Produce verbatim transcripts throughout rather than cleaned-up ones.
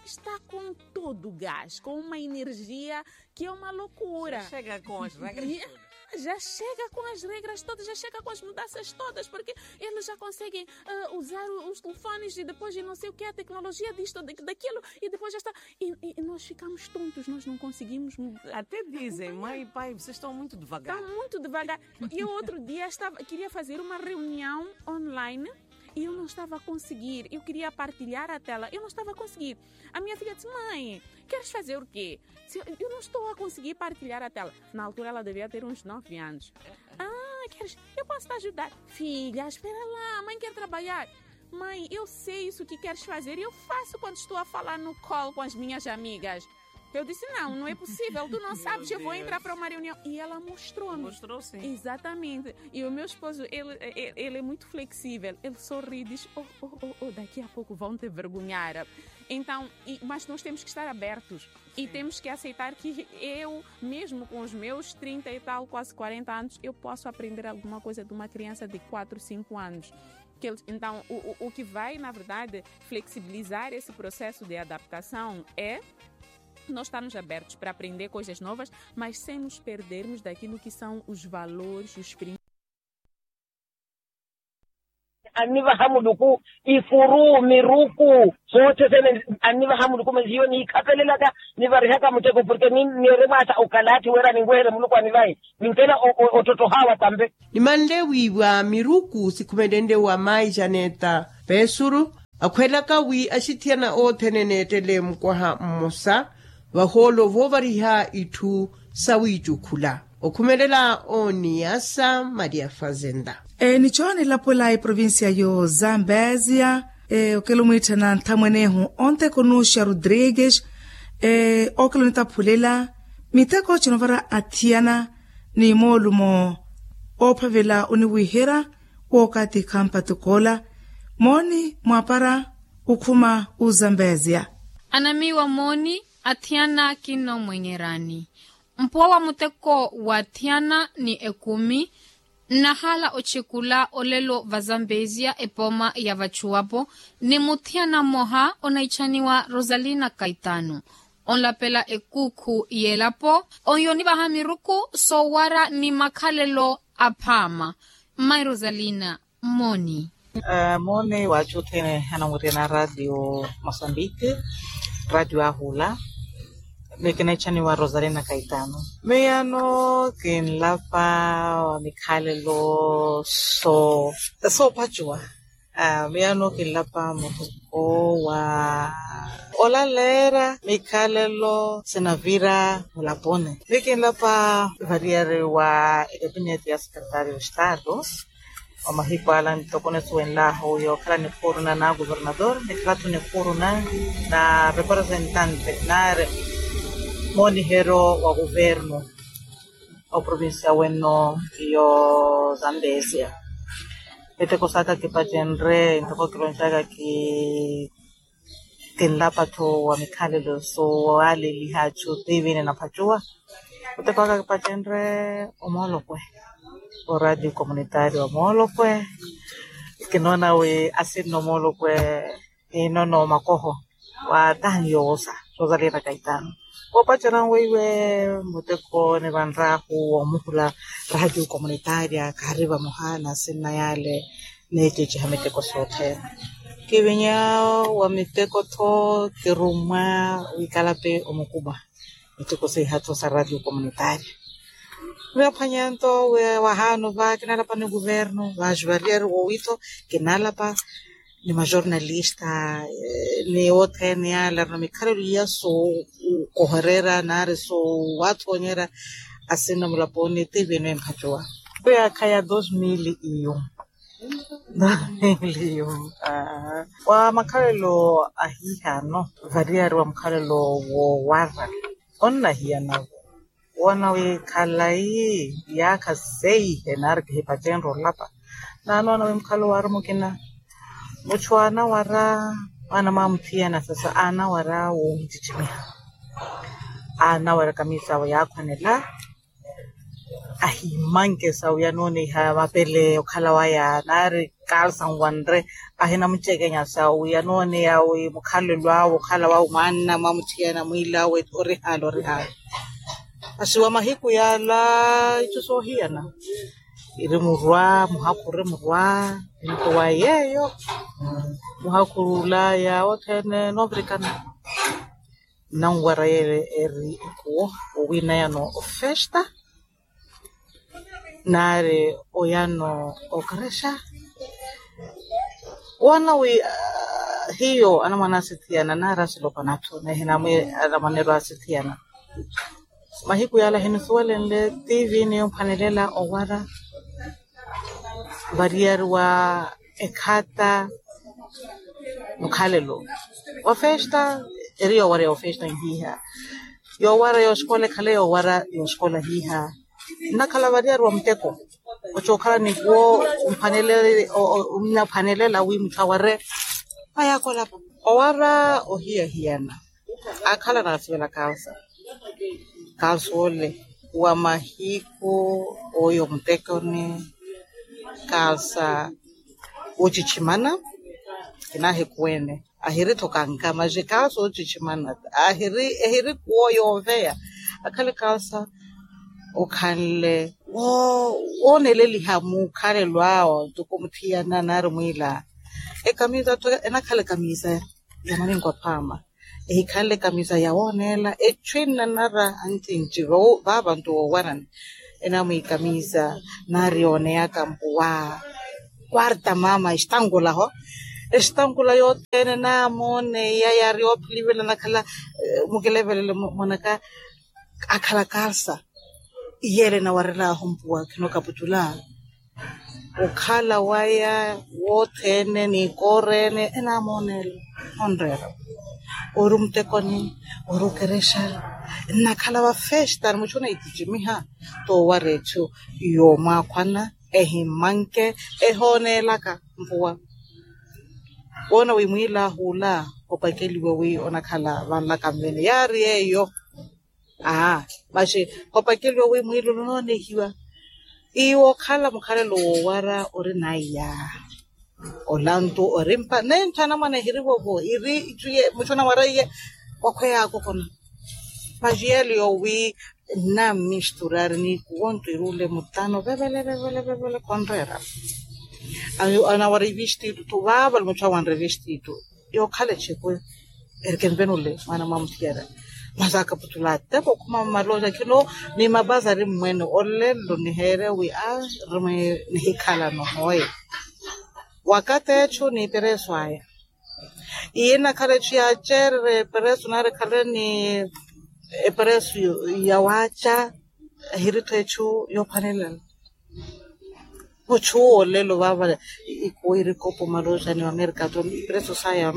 Está com todo o gás, com uma energia que é uma loucura. Já chega com as regras todas. Já chega com as regras todas, já chega com as mudanças todas, porque eles já conseguem usar os telefones e depois não sei o que, a tecnologia disto, daquilo, e depois já está. E nós ficamos tontos, nós não conseguimos. Até dizem, mãe e pai, vocês estão muito devagar. Estão muito devagar. E eu outro dia estava, queria fazer uma reunião online e eu não estava a conseguir. Eu queria partilhar a tela, eu não estava a conseguir. A minha filha disse: mãe, queres fazer o quê? Eu não estou a conseguir partilhar a tela. Na altura ela devia ter uns nove anos. Ah, queres? Eu posso te ajudar. Filha, espera lá, a mãe quer trabalhar. Mãe, eu sei isso que queres fazer e eu faço quando estou a falar no call com as minhas amigas. Eu disse: não, não é possível, tu não sabes, eu vou entrar para uma reunião. E ela mostrou-me. Mostrou, sim. Exatamente. E o meu esposo, ele, ele é muito flexível. Ele sorri e diz: oh, oh, oh, oh, daqui a pouco vão te vergonhar. Então, mas nós temos que estar abertos. E temos que aceitar que eu, mesmo com os meus trinta e tal, quase quarenta anos, eu posso aprender alguma coisa de uma criança de quatro, cinco anos. Então, o que vai, na verdade, flexibilizar esse processo de adaptação é nós estarmos abertos para aprender coisas novas, mas sem nos perdermos daquilo que são os valores, os princípios. Annivaha muluku ifuru miruku, soothene annivaha muluku masi hiyo niikhapelelaka nivarihaka muteko porke niiremwaasa okalathi wira ninweherye muluku anivahe. Ninkela ottottoha wa tampe. Nimanle wiiwa miruku sikhumelenle wa mayi janeta, pesuru akhwelaka wi axithiyana othene neettele mukwaha mmosa vahoolo voovariha itthu sawiicukhula. Okhumelela oniyasa maria fazenda. Nicho nilapwela eprovincia yo zambezia. Okela omwiitthana nthamwenehu ontekonuxa rodrigues. Okela onitaphulela miteko chinovara athiyana ni moolumo oophavela oniwiihera wookatikha mpatukoola. Mooni mwaapara okhuma ozambezia. Anamiiwa mooni athiyana kinnomwenyerani. Mpuwa wa muteko wa thiyana ni ekumi nnahaala ochekula olelo vazambezia epooma ya vachuwapo ni muthiyana mmoha onaichaniwa rosalina kaitano. Onlapela ekuukhu y'elapo onyo nivaha miruku soowara ni makhalelo aphaama. Mmayi rosalina, mmooni. Mmooni waachu othene anamwiriyana radio mosambiki, radio ahula. Miyo kinaitthaniwa rosalina kaitano. Miyano kinlapa wa mikhalelo soophacuwa. Miyano kinlapa muteko wa olaleera mikhalelo sinavira mulaponi. Miyo kinlapa variyari wa ekapineti ya sekretario estado. Wa mahiku ala ntoko nisuwenlahu yookhala nikhuuru na na governador nikhala-tho nikhuuru na na representante nari mooniheryo wa governo wa provincia weno yo zambezia. Miteko saka kipacenre ntoko kiloncaka ki kinlapa-tho wa mikhalelo soowaleliha achu tiivini naphacuwa. Muteko aka kipacenre omoolokwe oradio communitario omoolokwe. Kinoona wi asinno omoolokwe inono makoho wa taha niyoowosa rosalina kaitano. Koopacerya weiwe muteko nivanrahu woomuhula radio communitaria kaari vamoha na asinna yale. Neececeha miteko soothene kivinya wa miteko-tho kirummwa wikalape omukuba. Miteko seiha-tho sa radio communitaria. Miyo aphwanya nto wahaano va kinalapa ni guvernu vaaxi variyari woowi-tho kinalapa ni majornalista ni othene yale arina mikhalelo iya sookohererya nari soowathonyerya asinna mulaponi tiivini emphacuwa. Khuyaakha ya dos mil iyo. Dos mil iyo. Wa makhalelo ahihano variyari wa mukhalelo woowara onnahiyana-vo. Woona wi khalayi yaakha seihe nari kihipacenre olapa. Naanoona wi mukhalelo waari mukina muchu aanawara mwaana mwamuthiyana sasa aanawara woohicicimiha. Aanawara kamisa awe yaakhwanela. Ahimanke sa wi anooniha mapele okhala waya nari kalsa nwanre. Ahinamucekenya sa wi anooneya wi mukhalelo awe okhala wawe mwanna mwamuthiyana mwilawe orihali orihali. Masi wa mahiku yala itthu soohiyana iri murwa muhakhu ori murwa. Nto wa yeeyo muhakhu ula ya othene noovirikana. Nnanwara yeele eri ikuwo owinayano ofesta nari oyano okerexa. Woona wi hiyo anamwane asithiyana nari asilopana atthu nehinamwi anamwaneru asithiyana. Mahiku yala hinusuwelenle tv niyo mphwanelela owara variyariwa ekhata mukhalelo wa festa. Eri yoowareya ofesta nhiha yoowareya oxikola ekhale yoowareya oxikola hiha. Nnakhala variyariwa muteko ocookhala nikuwo mphwanelela wi mutthu aware. Aya akolapa owara ohiyahiyana akhala naasivela kalsa. Kalsa ole wa mahiku oyo mutekoni kalsa ocicimana. Kinaahikuwene ahiri tho kankama xi kalsa ocicimana ahiri ehiri kuwo yooveya. Akhale kalsa okhanle wooneleliha mukhalelo awo ntoko muthiyana nari mwiila. Ekamisa tho enakhala ekamisa ya maninko aphaama ehikhanle ekamisa ya wooneela echu enanara ancinci vaava nto woowarani. Enamwikamisa nari yooneyaka mpuwa kwarta mama estankula ho estankula yothene naamooneya yaari yoophilivela nakhala mukilevelele mwanaka akhala kalsa. Iyeele enawarelaahu mpuwa khinokaputula okhala waya wothene ni koorene enaamoonela onreera ori mutekoni ori okerexa. Nnakhala vafesta ni muchu oneitticimiha toowara echu yoomwaakhwana ehimanke ehooneelaka mpuwa woona wi mwiilaahu ola opakeliwe wi onakhala vanlaka nvene yaari yeeyo. Aa masi khopakeliwa wi mwiilulu noonehiwa iwo okhala mukhalelo woowara ori naiya. Olantu orimpa nentthana mwana ehirivovo iri itthu iye muchu anawara iye wakhweya akokona. Masi yeelo yowi nnammisturari ni kuwonto iri ole mutano vevele vevele vevele khonreera. Anawara ivistittu vaavale muchu awanre ivistittu yookhala echekwe. Eri kenvenule mwaana mwamuthiyana masi akaputula ateko okhuma mmaloja khino ni mapazari mmwene olelo niheere wi a rimwe nihikhalano hoye. Wakati echu ni eperesu aya iye nakhala echu yaacererya eperesu nari khale ni eperesu yawaaca. Ehiritho echu yoophwanelela muchu owo olelo vaava ikuwo irikopo maloja ni wamerika to iperesu saya.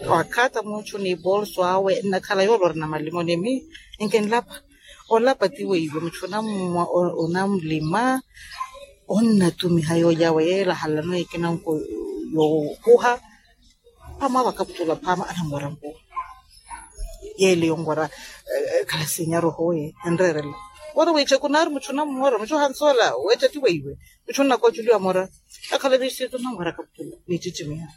Wakhata muchu ni polso awe nnakhala yoole ori na malimo ni mi enkinlapa. Olapa ti weiwe muchu onamlima onnatumiha yoojawe yeela halano ekinanko yookuha. Phaama vakaputula phaama anamwara mpuwa yeele yonwara. Khala sinyaru hoye enreerela wara wiicheku naari muchu onamwara muchu ohansoola weecha ti weiwe muchu onnakoculiwa mora. Akhala vistitu onamwara kaputula niicicimiha.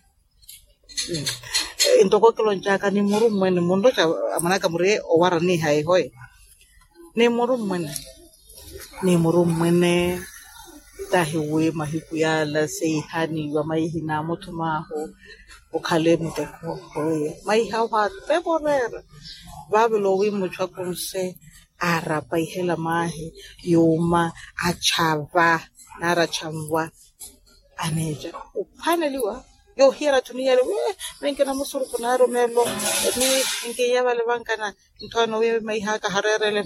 Ntoko kiloncaka ni murummwene munroca amanaka muri owara niiha ihoye ni murummwene ni murummwene. Tahi wi mahiku yala seihaniwa maihi naamutthum'ahu okhale muteko hoye maihi ahu aatevo oreera. Vaavelo wi muchu akunse aarapa ihela maahi yuuma achava nari achanva. Aneeca ophwaneliwa yoohiyana atthu niyale wi minkina musuruku naarumeelo ni minkiya vale vankana. Nthwana wi maihaka hareerele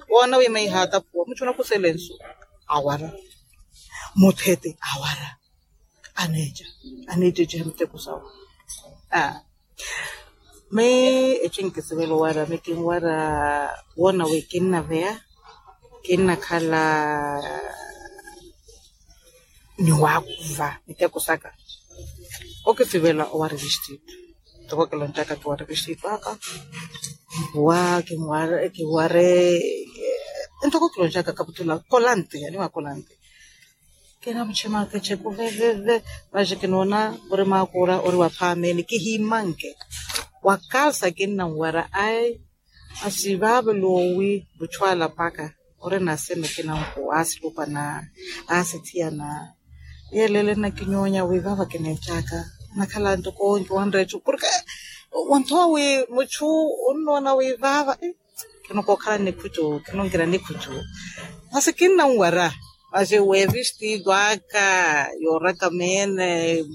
woona wi maihatapuwa muchu onakusele nsu awara muthete awara. Aneeca aneececeha miteko sawe. Aa mi eco enkisivela owara mi kinwara woona wi kinnaveya kinnakhala ni waakuva miteko saka. Okisivela owara evestitu ntoko kiloncaka kiwara evestitu aka mpuwa kinware Entoko kiloncaka kaputula kolante animwa kolante. Kinamuchimaka echeku veveve. Vaje kinoona ori makuura ori waphaameni kihimanke wakalsa kinnanwara ai. Asi vaavelo wi vuchwala paka ori naseme kinanku aasilupa na aasithiyana. Yelele nakinyonya wi vaava kineechaka nakhala ntukonki wanreechu porke wanthowa wi muchu unnoona wi vaava. Kinokookhala nikhucu kinonkira nikhucu. Masi kinnanwara masi wevistido aka yoraka meene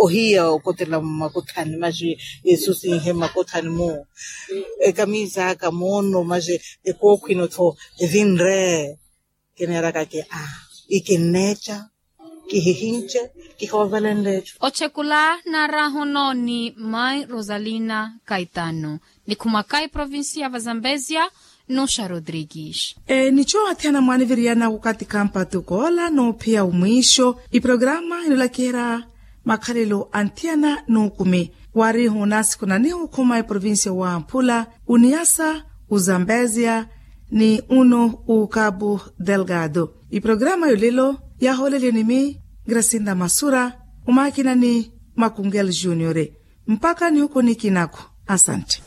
ohiya okotela mmakuthani masi yesu sinhe mmakuthani mu ekamisa aka moono masi ekookhwino tho evinre. Kineerakake a ikinneeca kihihince kihoovelenle ecu. Ochekula naarahu nooni mai rosalina kaitano nikhumaka eprovincia va zambezia. Nuxa rodrigues. Nicho athiyana mwaaniviriyana wukati kampatu koola noophiya omwiixo iprograma enolakiherya makhalelo a nthiyana n'ukumi. Warihu nasiku nanihu khuma eprovincia wa mphula uniyasa uzambezia ni unu u cabo delgado. Iprograma yolelo yahooleliwe ni mi gracinda masura omakinani makungel juniore. Mpaka nihuku nikinaku. Asante.